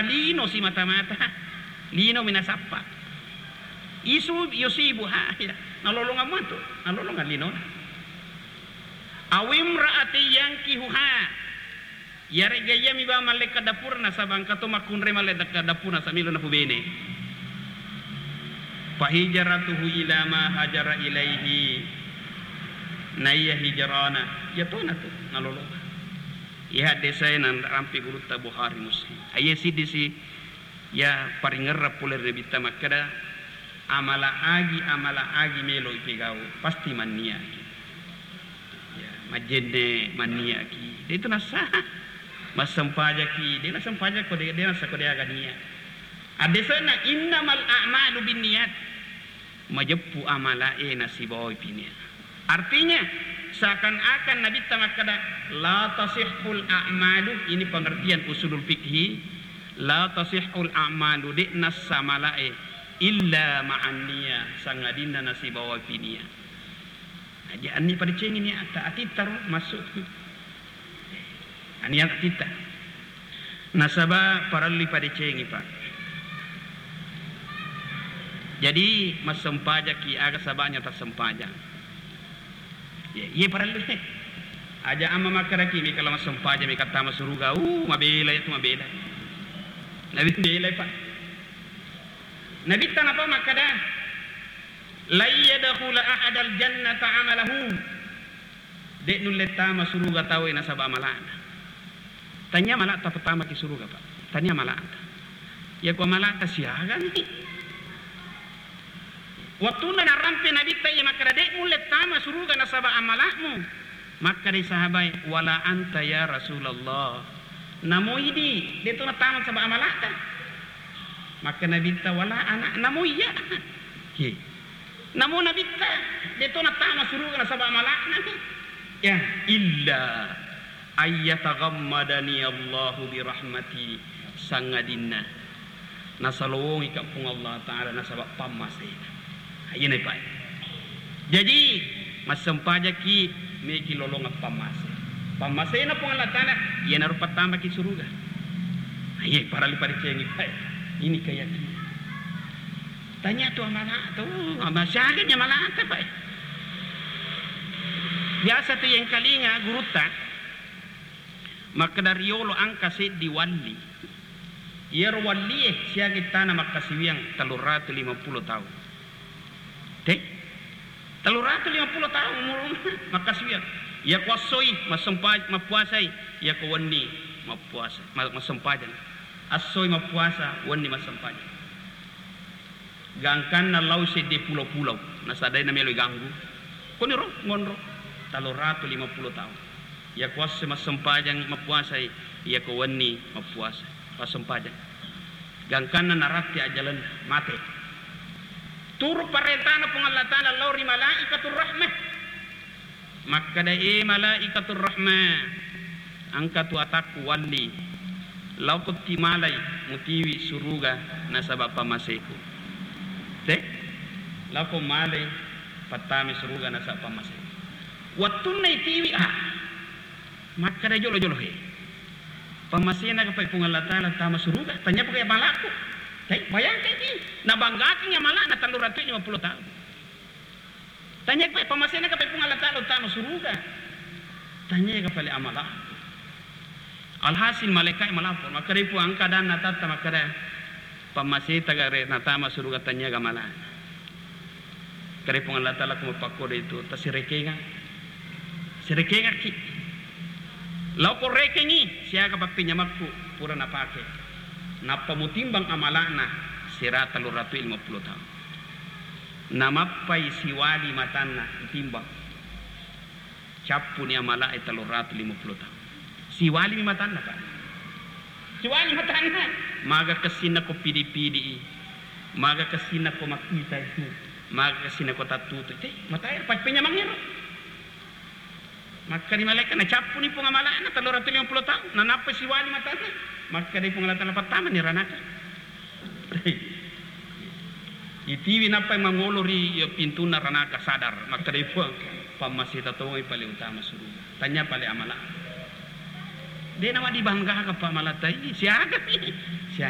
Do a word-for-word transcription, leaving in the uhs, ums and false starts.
lino simata-mata, lino minasappa. Isu yusibu ha, ya. Nalolongang matu, nalolongang linona. Awimra'atin yankihuha. Iyare'ga iyami bawang mallekka dapurna, nasaba engka to makkunrai mallekka dapurna, samilo napubene. Fahijratuhu ila ma hajara ilaihi. Naiya hijrana, iya tona tu nalolongang. Iya haddesae nanrampe gurutta Bukhari Muslim. Aiya siddi si, iya paringerrang pole ri Nabitta makkeda, amala agi, amala agi melo ipegau, pasti manniaki. Ya, majjenne manniaki. De itu nassa. Massempajaki, de nassempajako, de, de nassa ko de aga nia. Addesena innamal a'malu binniyat. Majeppu amalae nasibawai pinia. Artinya, seakan-akan Nabitta makkeda, la tasihhul a'malu, ini pengertian usulul fikhi, la tasihhul a'malu, de nassa amalae, illa ma'an niyah, sangadinna nasibawai pinia. Aja anni padecengi niatta, atitta ro massu. Ania atitta. Nasaba parellu padecengi, Pak. Jadi, massempajaki aga sabanya tassempajang. Ye, iye parellu. Aja amma makkedaki, mika la massempajang, mika tama suruga. Uh, mabela itu, mabela. Nabi bela, Pak. Nabitta napa makkeda, "Lan yadkhula ahadal jannata amalahu." De nulle tama suruga tauwe nasaba amala'na. Tania amala'ta pattamaki suruga, Pak. Tania amala'ta. Yako amala'ta siagami. Wettunna narampe Nabitta iya makkeda, "De mulle tama suruga nasaba amala'mu." Makkedai sahabae, "Wala anta ya Rasulullah." Namo idi, de to natama nasaba amala'ta. Makkeda Nabitta, "Wala ana." Namo iya. He. Namo Nabitta, de to natama suruga nasaba amala'na. Ya, illa ayyataghammadani Allahu birahmati, sangadinna nasalowongika Puang Allah Ta'ala nasaba pammasena. Iyana, Pak. Jaji, massempajaki meki lolongeng pammase. Pammasena Puang Allah Ta'ala, iyanaro pattamaki suruga. Iye, parellu padecengi, Pak. Ini keyakinan. Tania tu amala tu, ama-, siaga ni amalata, Pak. Biasa tu yengkalinga gurutta, makkeda riolo engka seddi walli. Iyaro wallie siaga ittana makkasiwiang telluratu limappulo taung. Te? Telluratu limappulo taung umurunna makkasiwiang. Iyako essoi massempa-, mappuasai, iyako wenni mappuasa, ma-, massempajang. Essoi mappuasa, wenni massempajang. Gangkanna lao seddi pulo-pulo, nasadai namelo iganggu. Koniro ngonro, telluratu limappulo taung. Iyako esso massempajang mappuasai, iyako wenni mappuasa, massempajang. Gangkanna naratti ajjalenna, mate. Turu parentana Puang Allah Ta'ala lao ri malaikatur rahmah. Makkeda, "E malaikatur rahmah, engka tu atakku walli. Laoko ti malai mutiwi suruga nasaba pammaseku." Te? Laoko malai pattama suruga nasaba pammaseku. Wettunna itiwi, ah, makkeda jolo-jolo, he. Pammasena kapai Puang Allah Ta'ala tama suruga, tania pakai amalakku. Te, bayangkan ki, nabanggakan amalana telluratu limappulo taung. Tania pa-, pammasena ka Puang Allah Ta'ala tama suruga. Tania ka pale amala. Alhasil malaikat malapor, makkeda Puang engka adanna tatta makkeda pammaseta gare natama suruga tania ga amala. Kare Puang Allah Ta'ala ko mappakkodo itu, tasirekenga. Sirekengakki. Lao ko rekengi, siaga pappinyamekku pura napake. Nappa mutimbang amalana sirata telluratu limappulo taung. Namappai siwali matanna, timbang. Cappuni amala'e telluratu limappulo taung. Siwalimi matanna, Pak. Siwali matanna. Maga kessinna ko pidi-pidi i. Maga kessinna ko makkita itu. Maga kessinna ko tattutu. Te, matae, pa-, penyamangero. Makkeda malaika, nacappuni Puang amala'na telluratu limappulo taung, nanappa siwali matanna. Makkeda Puang Allah Ta'ala, "Pattamani ranaka." Itiwi nappai mangolo ri, ya, pintunna ranaka, sadar. Makkeda Puang, "Pammaseta tongai pale utama suruga. Tania pale amala." De nawa dibanggakan pa amalatai, siaga. Siaga.